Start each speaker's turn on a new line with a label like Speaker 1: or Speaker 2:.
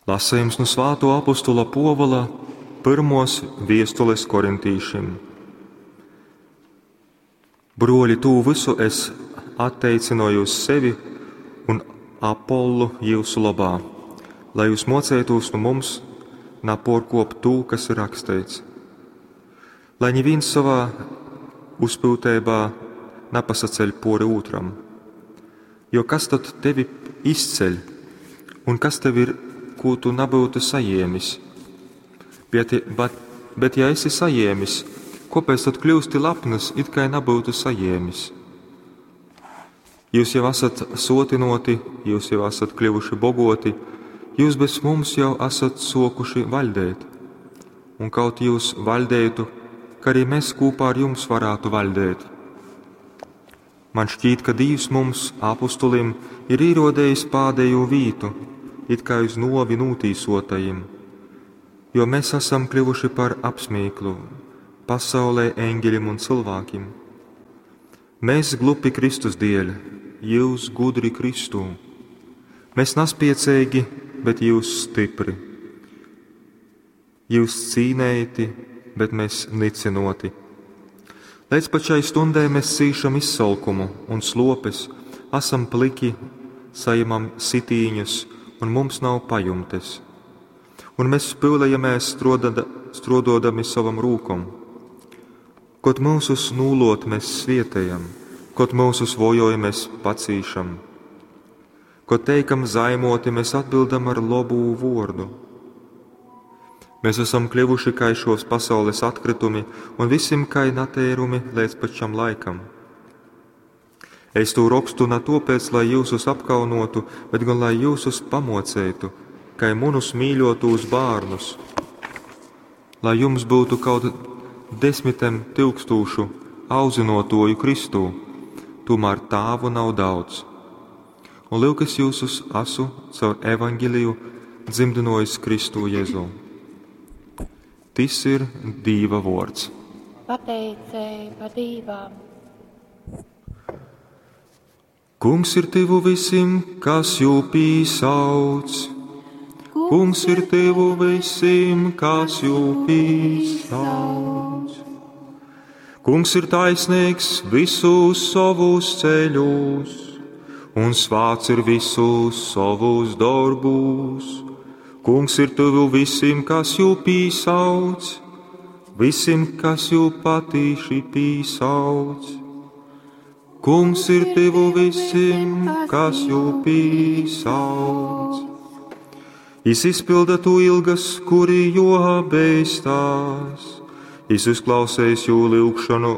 Speaker 1: Lasejums nu svātuo apostula Puovula pyrmuos viestules korintīšim. Bruoļi, tū vysu es atteicynoju uz sevi un Apollu jyusu lobā, lai jūs muoceitūs nu mums napuorkuopt tū, kas ir raksteits. Lai nivīns sovā uzpyuteibā napasaceļ puori ūtram. Jo kas tod tevi izceļ, un kas tev ir, kū tu nabyutu sajēmis? Bet, bet, bet ja esi sajēmis, kuopēc tod kļūsti lapnys, it kai nabyutu sajēmis? Jūs jau esat sotinuoti, jūs jau esat kļuvuši bogoti, jūs bez mums jau esat suokuši vaļdēt. Un kaut jūs vaļdētu, ka arī mēs kopā ar jums varētu vaļdēt. Man šķīt, ka Dīvs mums, apustulim, ir īrodējis pādējo vītu, it kā uz novi nūtīsotajim, jo mēs esam kļuvuši par apsmīklu pasaulē eņģeļim un cilvēkiem. Mēs glupi Kristus dēļ, jūs gudri Kristū. Mēs naspiecīgi, bet jūs stipri. Jūs cīnēti, bet mēs nicinoti. Līdz pat šai stundai mēs cīšam izsalkumu un slopes, esam pliki, saņemam sitīņus un mums nav pajumtes. Un mēs pyulējamēs strododami savam rūkom. Kot mūsus nūlot mēs svietējam, kot mūsus vojoj mēs pacīšam. Kot teikam zaimoti, mēs atbildam ar lobu vordu. Mēs esam kļuvuši kā šos pasaules atkritumi un visim kā natērumi līdz pat šam laikam. Es to rakstu ne topēc, lai jūsus apkaunotu, bet gan lai jūsus pamocētu, kā munus mīļotos bērnus, lai jums būtu kaut desmitiem tūkstošu audzinotoju Kristū, tomēr tāvu nav daudz. Un lūk, es jūsus asu caur evaņģeliju dzimdinojis Kristū Jēzū. Tis ir Dīva vords.
Speaker 2: Pateiceiba Dīvam.
Speaker 1: Kungs ir tuvu visiem, kas jū pīsauc. Kungs ir tuvu visiem, kas jū pīsauc. Kungs ir taisnīgs visus savus ceļus, un svāts ir visus savus darbus. Kungs ir tuvu visiem, kas jū pīsauc, visiem, kas jū patīši pīsauc. Kungs ir tuvu visiem, kas jū pīsauc. Jis izpilda tu ilgas, kuri jo beistās. Jis uzklausējis jū lyugšanu.